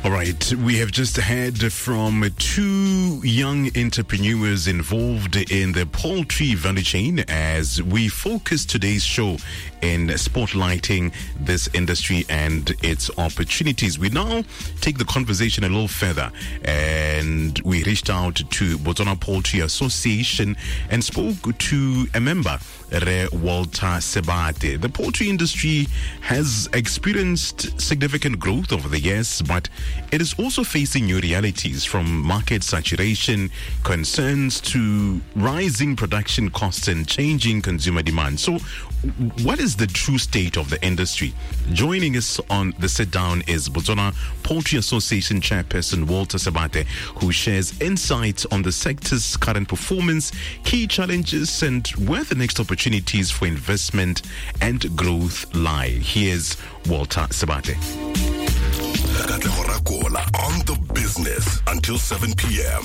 All right, we have just heard from two young entrepreneurs involved in the poultry value chain as we focus today's show in spotlighting this industry and its opportunities. We now take the conversation a little further and we reached out to Botswana Poultry Association and spoke to a member, Re Walter Sebate. The poultry industry has experienced significant growth over the years, but it is also facing new realities from market saturation, concerns to rising production costs and changing consumer demand. So, what is the true state of the industry? Joining us on the sit down is Botswana Poultry Association Chairperson Walter Sebate, who shares insights on the sector's current performance, key challenges, and where the next opportunities for investment and growth lie. Here's Walter Sebate. Katlego Rakola on the business until 7 p.m.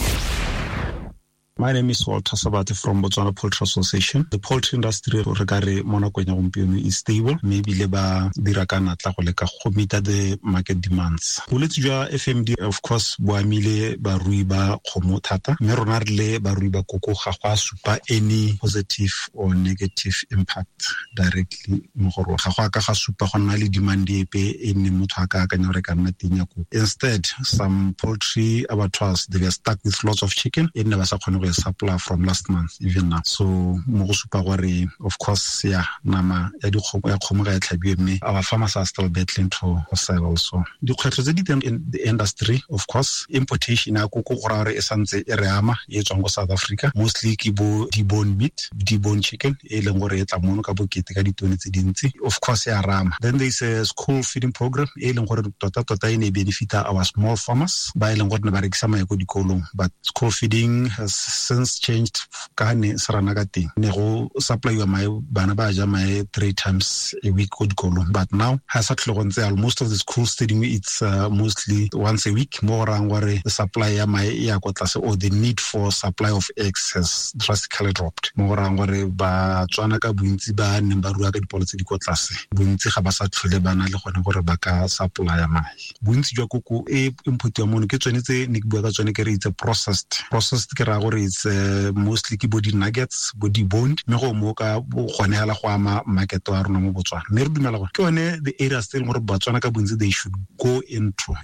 My name is Walter Sebate from Botswana Poultry Association. The poultry industry re ka re mo nakong ya gompieno is stable, mme ebile ba dira ka natla go leka go meeta the market demands. Bolwetse jwa FMD of course bo amile barui ba kgomo thata, mme rona re le barui ba koko ga go a supa any positive or negative impact directly mo go rona. Ga go a ka ga supa go nna le demand epe e nne motho a ka akanya gore e ka nna teng ya koko. Instead, some poultry abattoirs, they were stuck with lots of chicken e nne ba sa kgone go e supply from last month even now. So mo go supa gore of course ya nama ya dikgomo ya kgomo ga e tlhabiwe, mme our farmers are still battling to sell also. Dikgwetlho tse di teng in the industry, of course importation ya koko go raya gore e santse e re ama, e tswang ko South Africa, mostly ke bo debone meat, debone chicken e leng gore e tla mono ka bokete ka ditone tse dintsi, of course ya rama. Then there is a school feeding program e leng gore tota tota e ne e benefita our small farmers ba e leng gore ne ba rekisa mae ko dikolong, but school feeding has since changed ka ne se rana ka teng, ne go supplyiwa mae, bana ba ja mae 3 times a week ko dikolong, but now ha sa tlhole go ntse jalo. Most of the schools tse dingwe it's mostly once a week, mo go rayang gore the supply ya mae e ya kwa tlase or the need for supply of eggs has drastically dropped, mo go rayang gore Batswana ka bontsi ba neng ba rua ka dipalo tse di kwa tlase, bontsi ga ba sa tlhole ba na le gone gore ba ka supplya mae. Bontsi jwa koko e importiwa mono ke tsone tse ne ke bua ka tsone ke re it's a processed. Processed ke raya gore it's mostly ke bo di-nuggets, bo di-boned, mme go mo ka bo gone hela go ama market wa rona mo Botswana. Mme re dumela gore ke yone the areas tse e leng gore Batswana ka bontsi they should go into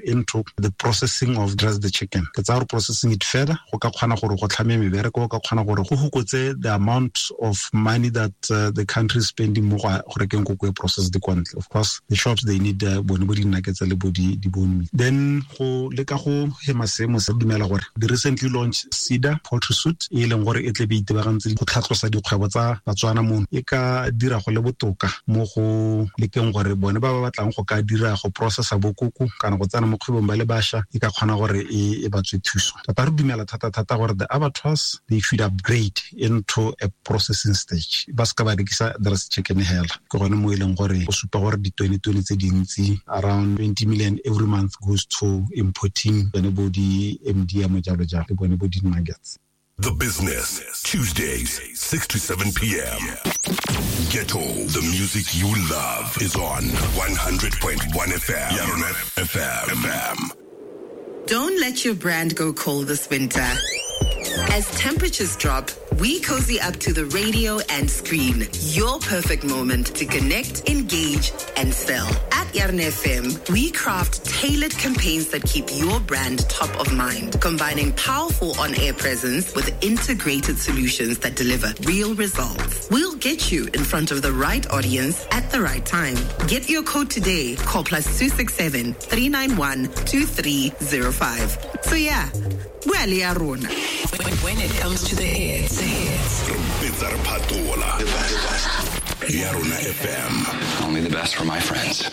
the processing of just the chicken. Ke tsaya gore processing it further go ka kgona gore go tlhame mebereko, go ka kgona gore go fokotse the amount of money that the country is spending mo go rekeng koko e processed kwa ntle. Of course the shops they need bone bo di-nuggets le bo di-bone meat. Then go leka go hema seemo se, dumela gore the recently launched Cedar poultry suit e leng gore e tle be itebagantse go tlhatlosa dikgwebo tsa Batswana mono, e ka dira go le botoka mo go lekeng gore bone ba ba batlang go ka dira go processa bokoko kana go tsena mo kgwebong ba le bašwa, e ka kgona gore e ba tswe thuso. Tota re dumela thata-thata gore the abattoirs they should upgrade into a processing stage, ba seka ba rekisa dressed chicken hela. Ke gone mo e leng gore go supa gore ditone-tone tse dintsi around 20 million every month goes to importing bone bo di MDM jalo jalo le bone bo di nuggets. The Business, Tuesdays, 6 to 7 p.m. Ghetto, the music you love is on 100.1 FM. Yarona FM. Don't let your brand go cold this winter. As temperatures drop, we cozy up to the radio and screen. Your perfect moment to connect, engage, and sell. At Yarona FM, we craft tailored campaigns that keep your brand top of mind, combining powerful on-air presence with integrated solutions that deliver real results. We'll get you in front of the right audience at the right time. Get your quote today. Call +267 391 2305. So yeah, well, Yarona. When it comes to the hits, Yarona FM. Only the best for my friends.